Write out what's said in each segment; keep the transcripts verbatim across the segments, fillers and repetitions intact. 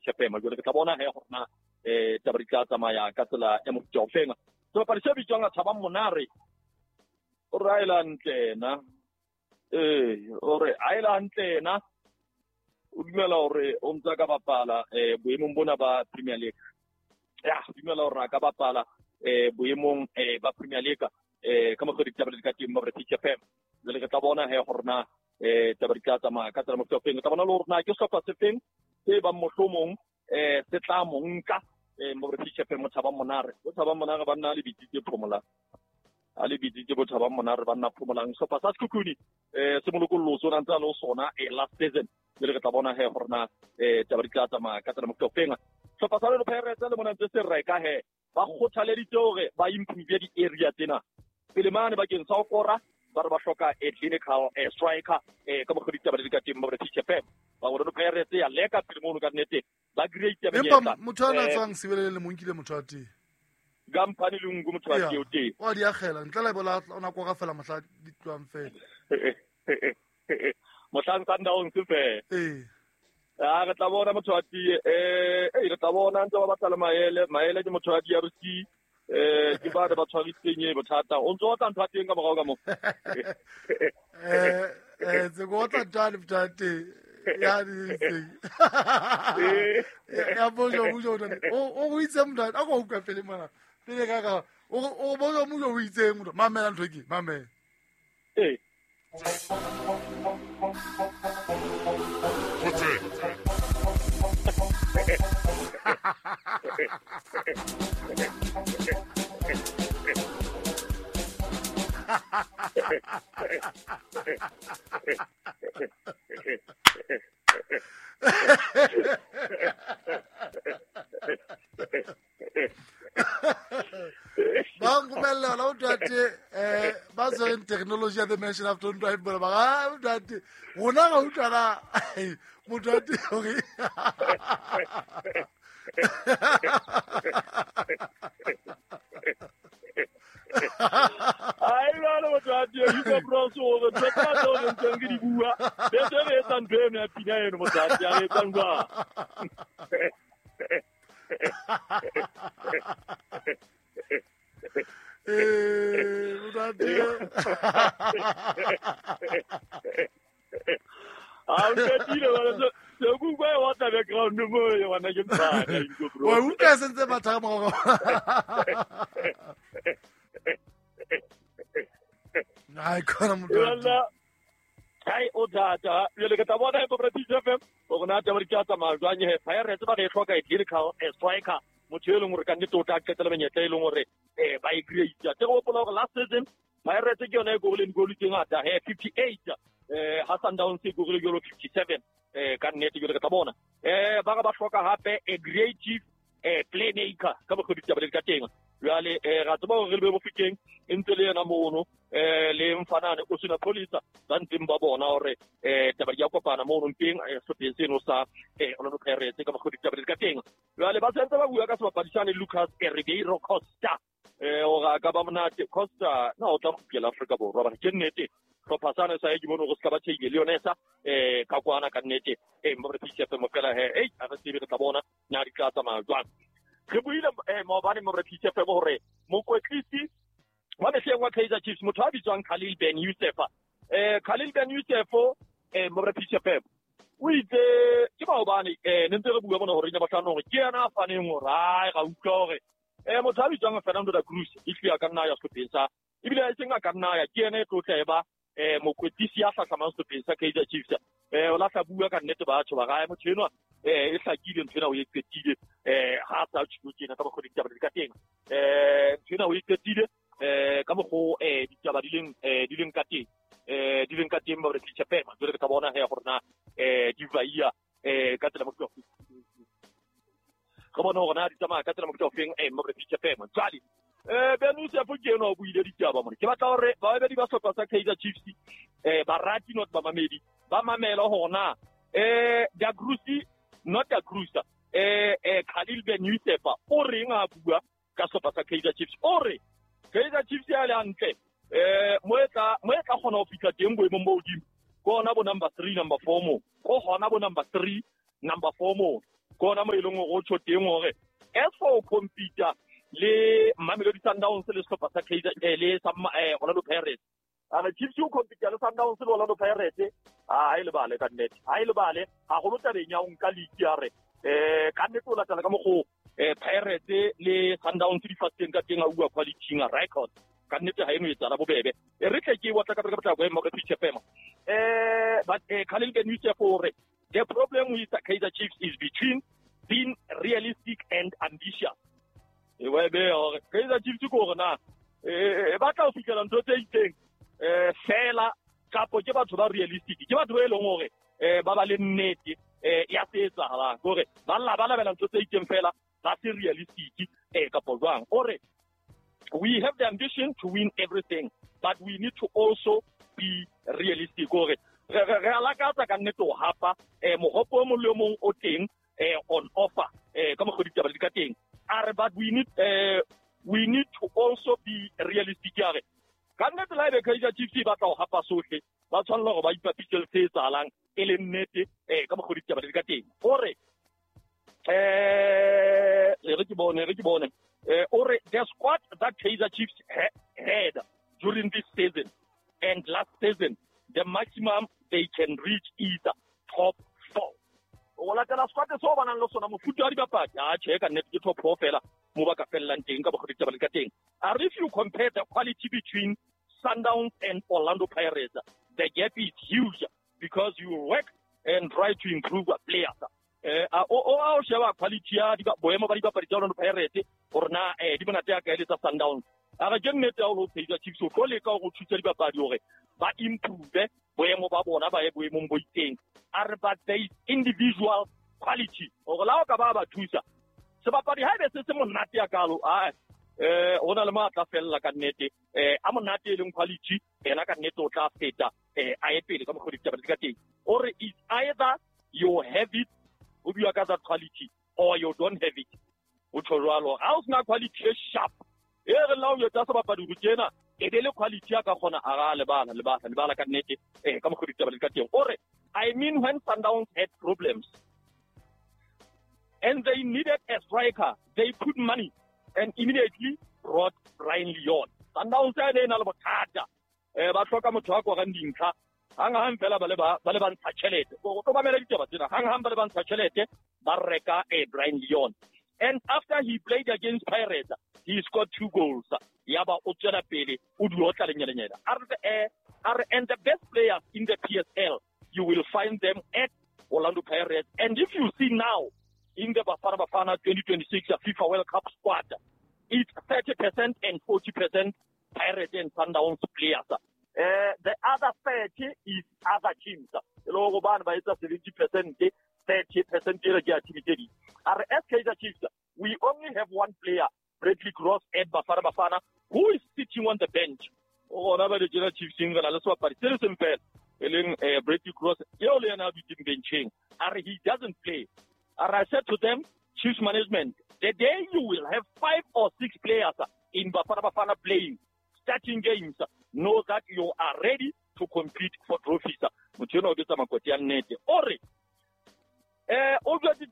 P F M. Jwale re tla bona he hore na eh taba di tla tsamaya ka tsela ya mofuta o feng. Sebapadi se bitswang Thabang Monare o re a e le hantle na, eh o re a e le hantle na, o dumela hore o ntse a ka bapala eh boemong bona ba Premier League. Ya, o dumela hore a ka bapala eh boemong eh ba Premier League eh ka mokgwa ditaba di ka teng mo P F M. Jwale re tla bona he hore na eh taba di tla tsamaya ka tsela mofuta o feng. Re tla bona le hore na ke sehlopha se feng se bang mohlomong eh se tla mo nka eh mo P F M. Thabang Monare, bo Thabang Monare ba nna le bitsitse Phomolang, a le bitsitse bo Thabang Monare ba nna Phomolang. Sehlopha sa Sekhukhune eh se molokollo sona ntse a le ho sona eh last season. Jwale re tla bona he hore na eh taba di tla tsamaya ka tsela mofuta o feng. Sehlopha sa Orlando Pirates le mona ntse se reka he ba kgothaleditse hore ba improve di-area tsena pele mane bakeng sa ho kora. Ba re ba hloka a clinical eh, striker eh ka mokgwa ditaba di ka teng mo P F M. Ba Orlando Pirates ya leka pele mono ka nnete ba create menyetla. Empa motho a na tswang Sebelele le monkile motho a teng. Kampani le nku motho a teng o teng. Wa di akgela ntle le bola ona kwa ga fela mohla di tloang fela. Mohlang Sundowns fela. Eh. Ah, re tla bona motho a teng eh eh re tla bona ntse ba batla le maele, maele ke motho a D R C. Eh ke ba ba tshwaritseng e bothata o ntse o tla ntho teng ka morao ka mo eh eh tse go tla tla bothata ya di tseng ya bojo bojo o o itse motho a go utlwa pele mona pele ka ka o o bojo mojo o itse motho mamela ntho ke mamela eh ba nkumela la utate eh ba tsweng technology ya the mention after ntwa e bona ba utate rona ga utlwana motho a teng hore ai bana motho a teng you go bros o re tsa tsa o ntseng ke di bua be se re etsa ntho eno ya pina eno motho a teng re etsang jwang. Eh motho a teng a o qetile bana se ku kwa wa tla background mo e wana ke mphana into bro wa utlwa sentse batha mo ai khona motho ai o tata jwale ke tla bona e P F M o rona taba di tla tsamaya jwang he Pirates ba re hloka e clinical striker motho e leng hore ka nnete o tla qetela menyetla e leng hore eh ba e create. Te go hopola hore last season Pirates ke yona e gorileng goal tse ngata he fifty-eight eh ha Sundowns e gorile jalo fifty-seven eh ka nnete jwale ke tla bona eh ba ba hloka hape a creative eh playmaker ka mokgwa ditaba di ka teng. Jwale eh ra tseba hore re le Bofokeng e ntse le yena mono eh le mfanane o sena police ba ntseng ba bona hore eh taba di ya kopana mono mpeng sehlopheng seno sa eh Orlando Pirates ka mokgwa ditaba di ka teng. Jwale ba sentse ba bua ka sebapadi sane Lucas Ribeiro Costa eh hore a ka ba monate Costa na o tla kgutlela Afrika Borwa bana ke nnete hlopha sane sa e ke bone hore se ka ba tjheile le yona sa eh ka kwana ka nnete eh mo re P F M fela he ei a re tsebe re tla bona na di tla tsamaya jwang. Re buile eh maobane mo re P F M hore mokwetlisi wa mehleng wa Kaizer Chiefs motho a bitswang Khalil Ben Youssef eh Khalil Ben Youssef eh mo re P F M o itse ke maobane eh ne ntse re bua bona hore ina batlana hore ke yena a faneng hore ai ga utlwa hore eh motho a bitswang Fernando da Cruz e tlile ka nna ya sehlopheng sa ebile e seng a ka nna ya ke yena e tlotla e ba eh mokwetlisi ya hlahlamang sehlopheng sa Kaizer Chiefs eh o lahla bua ka nnete batho ba gae motho enwa eh e hlakile ntho ena o e qetile eh ha sa tjho tjena ka mokgwa ditaba di ka teng eh ntho ena o e qetile eh ka mokgwa eh ditaba di leng eh di leng ka teng eh di leng ka teng ba re P F M jwale re tla bona he hore na eh di vaia eh ka tsela mofuta re bona hore na di tsamaya ka tsela mofuta ofeng eh mo re P F M jwale eh Ben Youssef ke eno o buile ditaba mona ke batla hore babedi ba sehlopha sa Kaizer Chiefs eh barati not bamamedi ba mamela hore na eh Da Cruz not Da Cruz eh eh Khalil Ben Youssef o reng a bua ka sehlopha sa Kaizer Chiefs o re Kaizer Chiefs ya le hantle eh mo etla mo etla kgona ho fihla teng boemong bo hodimo ke hona bo number three number four mo ko hona bo number three number four mo Ke ona mo e leng hore o tjho teng hore as for compete le Mamelodi Sundowns le sehlopha sa Kaizer le sa Orlando Pirates. A re Chiefs o compete le Sundowns le Orlando Pirates, ha e lebale ka nnete, ha e lebale haholo tabeng ya ho nka league ya re eh ka nnete o latela ka mokgo eh Pirates le Sundowns di fateng ka teng a bua quality nga record ka nnete ha eno etsala bobebe. E re tle ke watla ka ka tla go ema ka P F M eh but eh Khalil Ben Youssef hore the problem with the Kaizer Chiefs is between being realistic and ambitious. E wa be hore Kaizer Chiefs ko hore na eh ba tla o fihlela ntho tse itseng eh fela kapo ke batho ba realistic, ke batho ba e leng hore eh ba ba le nnete eh ya se etsahalang hore ba lla ba labela ntho tse itseng fela ba se realistic eh kapo jwang. Hore we have the ambition to win everything, but we need to also be realistic. Hore re re alakatsa ka nnete ho hapa eh mohopo o mong le o mong o teng eh on offer eh ka mokgwa ditaba di ka teng. A re but we need eh we need to also be realistic. A re ka nnete la ebe Kaizer Chiefs e batla ho hapa sohle, ba tshwanela hore ba ipapise le se etsahalang e le nnete eh ka mokgwa ditaba di ka teng. Hore eh re ke bone re ke bone eh ore the squad that Kaizer Chiefs ha had during this season and last season, the maximum they can reach is top four. O latela squad so ba nang le sona mofuta wa dibapadi, a tjhe ka nnete ke top four fela mo ba ka fellang teng ka mokgwa ditaba di ka teng. A re if you compare the quality between Sundowns and Orlando Pirates, the gap is huge because you work and try to improve players. Eh o o sheba quality ya di boemo ba dibapadi tsa Orlando Pirates hore na eh di monate ya kae le tsa Sundowns. A re ke nnete ya hore Kaizer Chiefs o tlo leka hore o thuse dibapadi hore ba improve boemo ba bona ba ye boemong bo itseng. A re but there is individual quality hore la o ka ba ba thusa sebapadi ha ebe se se monate ya kalo a eh ho na le matla fella ka nnete eh a monate e leng quality ena ka nnete o tla feta eh a ye pele ka mokgwa ditaba di ka teng. Ore is either you have it o bua ka that quality or you don't have it. O tjho jwalo ha o sena quality e sharp e re la o etsa sebapadi ho tjena e be le quality ya ka kgona a ra lebala lebala lebala ka nnete eh ka mokgwa ditaba di ka teng. Ore I mean when Sundowns had problems and they needed a striker, they put money and immediately brought Brian Leon. Sundowns e ne na le bothata eh ba hloka motho wa korang dintlha hang hang fela ba le ba ba le ba ntsha tjhelete. O tlo mamela ditaba tsena hang hang ba le ba ntsha tjhelete ba reka eh Brian Leon. And after he played against Pirates, he scored two goals. Yaba o tswela pele o di otla lenyelenyela. A re eh and the best players in the P S L, you will find them at Orlando Pirates. And if you see now in the Bafana Bafana twenty twenty-six FIFA World Cup squad, it's thirty percent and forty percent Pirates and Sundowns players. Uh, the other thirty is other teams. seventy percent, thirty percent. As Kaizer Chiefs, we only have one player, Bradley Cross at Bafana Bafana, who is sitting on the bench. Oh, Chiefs Bradley Cross, he doesn't play. And I said to them, Chiefs management, the day you will have five or six players in Bafana Bafana playing, starting games, know that you are ready to compete for trophies. Ore, eh, obviously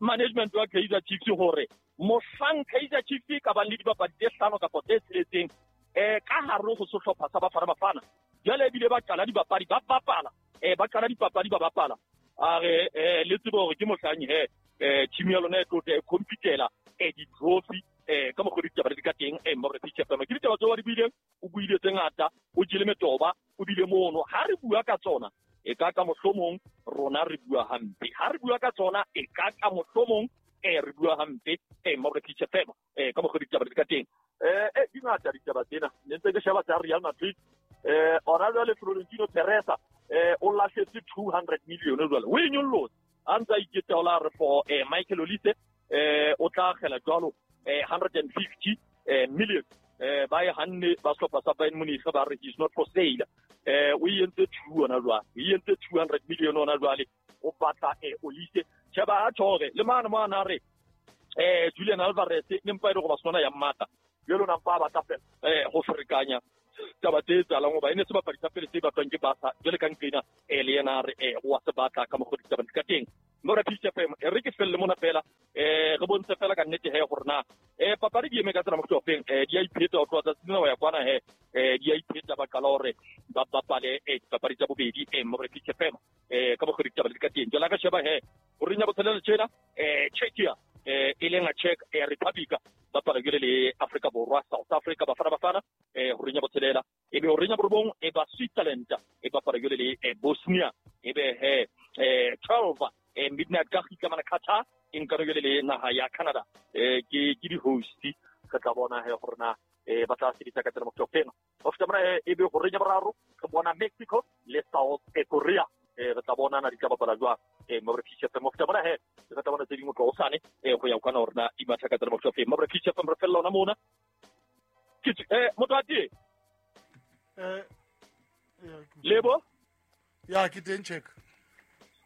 management wa Kaizer Chiefs hore mohlang Kaizer Chiefs ka ba le dibapadi tse hlano kapa tse tsheletseng eh ka hare ho sehlopha sa Bafana Bafana jwale ebile ba qala dibapadi ba bapala eh ba qala dipapadi ba bapala a re eh le tsebe hore ke mohlang he eh team ya lona e tlo e competela eh di trophy eh ka mokgwa ditaba di ka teng eh mo re pitch F M ke ditaba tseo di buileng o buile tse ngata o jele metoba o bile mono ha re bua ka tsona e ka ka mohlomong rona re bua hampe ha re bua ka tsona e ka ka mohlomong eh re bua hampe eh mo re pitch F M eh ka mokgwa ditaba di ka teng eh eh di ngata ditaba tsena ne ntse ke sheba tsa Real Madrid eh ora jwale Florentino Perez eh o lahletse two hundred million jwale o e nyollotse a ntse a iketaola re for eh Michael Olise eh o tla akgela jwalo eh one hundred fifty eh million eh ba e hanne ba sehlopha sa Bayern Munich ba re is not for sale eh o entse two ona jwale o entse two hundred million ona jwale o batla eh Olise sheba a tjhore le mane mane re eh Julian Alvarez ne mpa ile go ba sona ya mmata jwalo na mpa ba tla fela eh go ferekanya taba tse etsahalang hoba e ne sebapadi sa pele se batlwang ke Barca jwale ka nqena eh le yena re eh wa se batla ka mokgwa ditaba di ka teng. Mora P F M e re ke felle mona fela eh re bontshe fela ka nnete he gore na eh papadi di eme ka tsela mo feng eh di a ipheta ho tloha tsatsing lena ho ya kwana he eh di a ipheta ba qala hore ba bapale eh dipapadi tsa bobedi eh Mora P F M eh ka bokgoni ditaba di ka teng. Jwale ka sheba he ho renya botshelela tjena eh Czechia eh e leng a Czech eh Republic ba bapala jwale le Afrika Borwa South Africa Bafana Bafana eh ho renya botshelela e be ho renya borobong e ba Switzerland e bapala jwale le Bosnia e be he eh twelve eh midnight ka kgitla mana Qatar e nka jwale le naha ya Canada eh ke ke di host re tla bona he gore na eh ba tla sebetsa ka tsela mo topeng ho feta mona e be ho renya boraro re bona Mexico le South Korea eh re tla bona na di tla bapala jwang eh mo re fitse mo feta mona he re tla bona tse dingwe tlo hosane eh go ya kana hore na di matha ka tsela mo topeng mo re fitse re fella ona mona ke eh motho a tie eh Lebo ya ke teng check.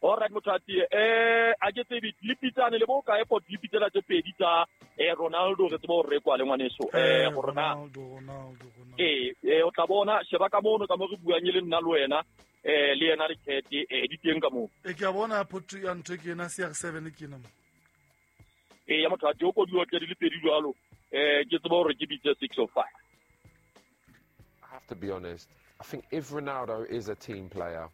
All right motho a tie eh a ke tsebe le pitsane le bo ka airport le pitsela tse pedi tsa eh Ronaldo re tsebe hore re kwa le ngwaneso eh gore na Ronaldo Ronaldo Ronaldo eh eh o tla bona sheba ka mono ka mo re buang le nna le wena eh le yena le chat eh di teng ka mo e ke a bona photo ya ntho ke ena C R seven ke ena mo eh ya motho a tie o ko di otle di le pedi jwalo eh ke tsebe hore ke bitse six oh five. I have to be honest, I think if Ronaldo is a team player,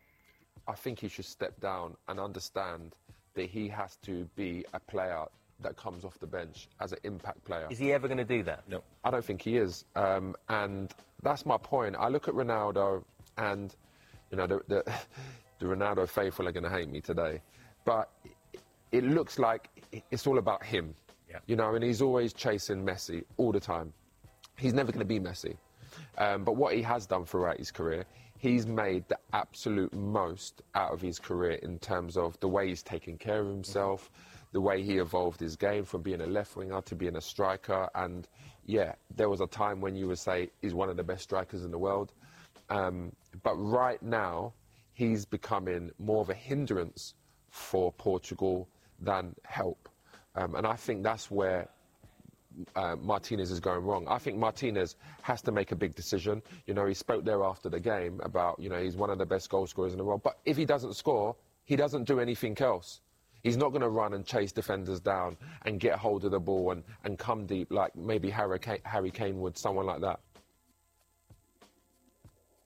I think he should step down and understand that he has to be a player that comes off the bench as an impact player. Is he ever going to do that? No. I don't think he is. Um, and that's my point. I look at Ronaldo and, you know, the, the, the Ronaldo faithful are going to hate me today. But it looks like it's all about him. Yeah. You know, and he's always chasing Messi all the time. He's never going to be Messi. Um, but what he has done throughout his career, he's made the absolute most out of his career in terms of the way he's taken care of himself, mm-hmm. the way he evolved his game from being a left winger to being a striker. And, yeah, there was a time when you would say he's one of the best strikers in the world. Um, but right now, he's becoming more of a hindrance for Portugal than help. Um, and I think that's where Uh, Martinez is going wrong. I think Martinez has to make a big decision. You know, he spoke there after the game about, you know, he's one of the best goal scorers in the world. But if he doesn't score, he doesn't do anything else. He's not going to run and chase defenders down and get hold of the ball and, and come deep like maybe Harry Kane, Harry Kane would, someone like that.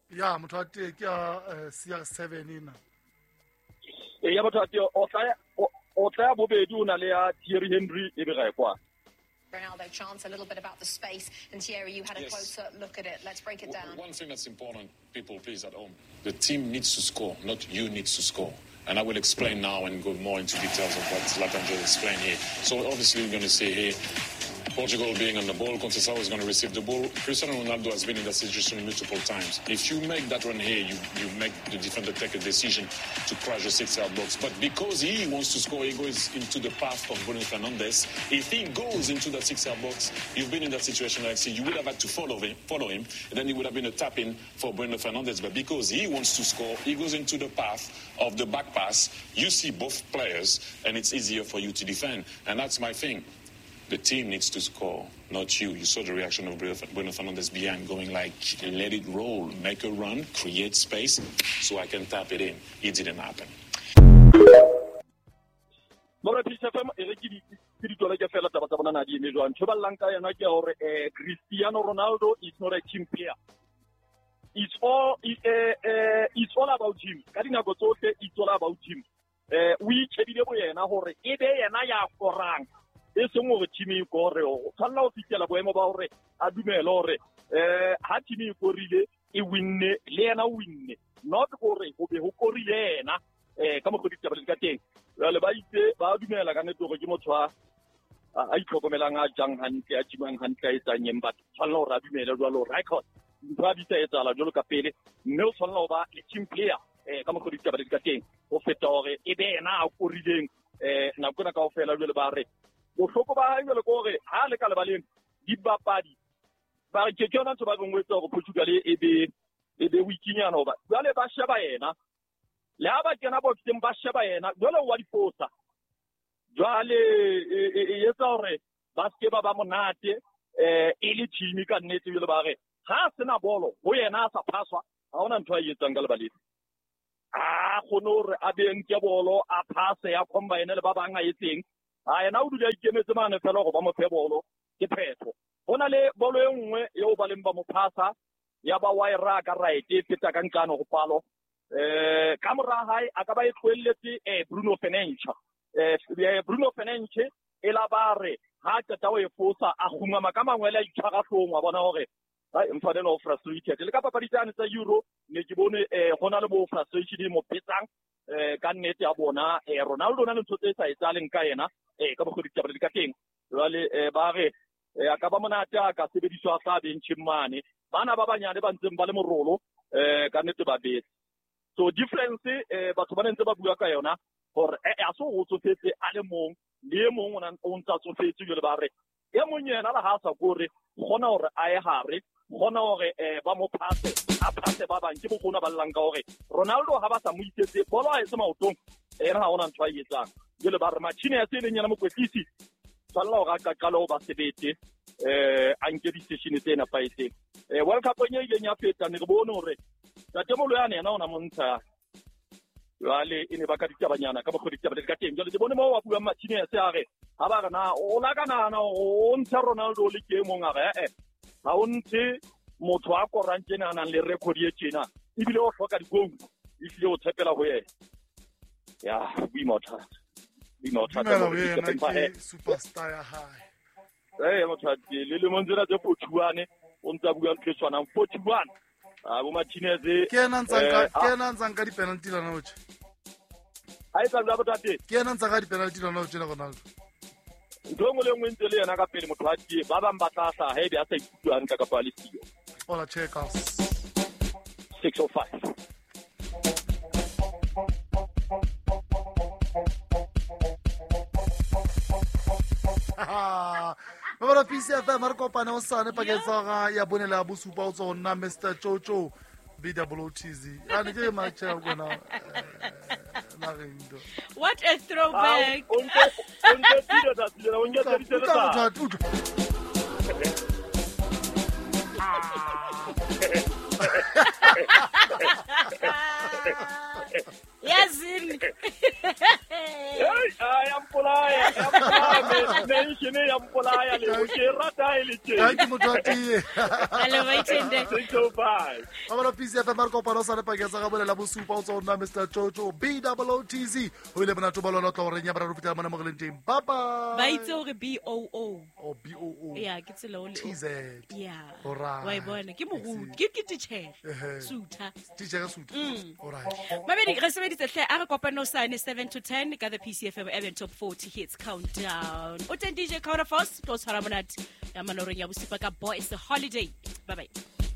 Yeah, motho a teng ke ya C R seven ena. Eh ya motho a teng o tla o tla bobedi o na le ya Thierry Henry e be ga e kwa. Ronaldo chance, a little bit about the space, and Thierry, you had a yes. closer look at it. Let's break it down. One thing that's important, people, please, at home, the team needs to score, not you needs to score. And I will explain now and go more into details of what Zlatan just explained here. So obviously we're going to see here Portugal being on the ball, Conceição is going to receive the ball. Cristiano Ronaldo has been in that situation multiple times. If you make that run here, you, you make the defender take a decision to crash the six-yard box. But because he wants to score, he goes into the path of Bruno Fernandes. If he goes into that six-yard box, you've been in that situation, Alexi, you would have had to follow him, follow him, and then it would have been a tap-in for Bruno Fernandes. But because he wants to score, he goes into the path of the back pass. You see both players, and it's easier for you to defend. And that's my thing. The team needs to score, not you. You saw the reaction of Bruno Fernandes behind going like, let it roll, make a run, create space so I can tap it in. It didn't happen. Mora P F M e re ke di tswela ke fela taba tsa bona na di eme jwang. Ntho ba llang ka yona ke hore eh Cristiano Ronaldo is not a team player. It's all eh eh it's all about him. Ka dinako tsohle it's all about him. Eh o itjhebile bo yena hore e be yena ya korang. E seng hore team e kore o tshwanela ho fihlela boemo ba hore a dumele hore eh ha team e korile e winne le yena o winne, not hore ho be ho korile yena eh ka mokgwa ditaba di ka teng. Jwale ba itse ba dumela ka nnete hore ke motho a a itlhokomelang, a jang hantle, a jimang hantle, a etsang eng, but tshwanela hore a dumele jwalo record ntho a bitsa etsahala jwalo ka pele, mme o tshwanela ho ba le team player eh ka mokgwa ditaba di ka teng ho feta hore e be yena a korileng eh nako ena kaofela. Jwale ba re bohloko ba hae jwale ke hore ha le ka lebaleng dibapadi ba re ke ke yona ntho ba reng o etsa hore Portugal e be e be wikinyana, hoba jwale ba sheba yena le ha ba kena boxeng ba sheba yena jwale wa difosa. Jwale e etsa hore ba ske ba ba monate eh e le team ka nnete. Jwale ba re ha sena bolo ho yena a sa phaswa, ha hona ntho a e etsang ka lebaleng. A kgone hore a be nke bolo a pass ya combine le ba bang a etseng. A yena o dula a ikemetse mane fela gore ba mo fe bolo ke phetho. Ho na le bolo e nngwe eo ba leng ba mo phasa ya ba wa e raka right e feta ka nqano go palo. Eh ka mora hae a ka ba e tlohelletse eh Bruno Fernandes. Eh Bruno Fernandes e la ba re ha qeta o e fosa a kgumama ka mangwele a itshwara hlong wa bona hore ai mfane no frustrated le ka papadi tsane tsa Euro ne ke bone eh gona le bo frustration mo petsang eh ka nnete ya bona eh Ronaldo na le ntho tse sa etsaleng ka yena eh ka bogodi tsa ka teng jwale eh ba re a ka ba monate a ka sebediswa sa benching mane bana ba banyane ba ntseng ba le morolo eh ka nnete ba betse. So difference eh batho ba ntse ba bua ka yona hore eh a so o tsofetse a le mong le mong ona o ntsa tsofetse jwale ba re e mong yena la ha sa kore gona hore a ye hare gona hore eh ba mo phase a phase ba bang ke bogona ba llang ka hore Ronaldo ha ba sa mo isetse bolo a etse maotong ena ha ona ntho a etsang jwale ba re machine ya se leng yena mokwetlisi tshwanela hore a qaqale ho ba sebete eh a nke di-session tse nepahetseng. Eh World Cup e ileng ya feta ne re bone hore Tatemolo yane yena ona montsha jwale e ne ba ka ditabanyana ka bokgodi ditaba le ka teng jwale ke bone mo wa buang Martinez a re ha ba re na o la ka nahana o ntsha Ronaldo le ke mong a re eh ha o ntshe motho a korang tjena a nang le record e tjena ebile o hloka di-goal ehlile o tshepela ho yena. Ya boima o thata boima o thata ke superstar ya hae eh motho a le lemong tsena tse forty-one o ntsa bua ntho e tshwanang forty-one. Ah bo Martinez ke ena ntsang ka ke ena ntsang ka di-penalty lona o tje ha e tla bua botate ke ena ntsang ka di-penalty lona o tje le Ronaldo ntho engwe le engwe ntse le yena ka pele motho a tie ba bang ba tla hlaha haebe a sa ikutlwe hantle kapa a le siyo. Hola checkers six oh five. Ba P C F M re kopane o sane pakeng tsa ga ya bone le bosupa o tswa ho nna Mister Jojo B O T Z. A ne ke match ya gona na reng do. What a throwback. O ntse o ntse tile tsa tile o ntse tile tsa. Yazini. Hey, I am polaya, I am polaya, mention I am polaya le ke rata e le tje. Thank you motho wa tee. Hello Maitende. six oh five. Ba P C F M re kopane o sane pakeng tsa ga bone la bosupa o tswa ho nna Mister Jojo B O T Z. Ho ile monate ba lona tla horeng ya boraro fitela mona mo re leng teng. Bye bye. Ba itse hore B O O. Oh B O O. Yeah, ke tsela o le. T Z. Yeah. Alright. Wa e bona ke moruti, ke ke teacher. Sutha. Teacher sutha. Alright. Mabedi re sebeditse hle a re kopane o sane seven to ten ka the P C F M Urban Top forty Hits Countdown. O teng D J Counterforce tlo tshwara monate ya manoreng ya bosupa ka Boys Holiday. Bye bye.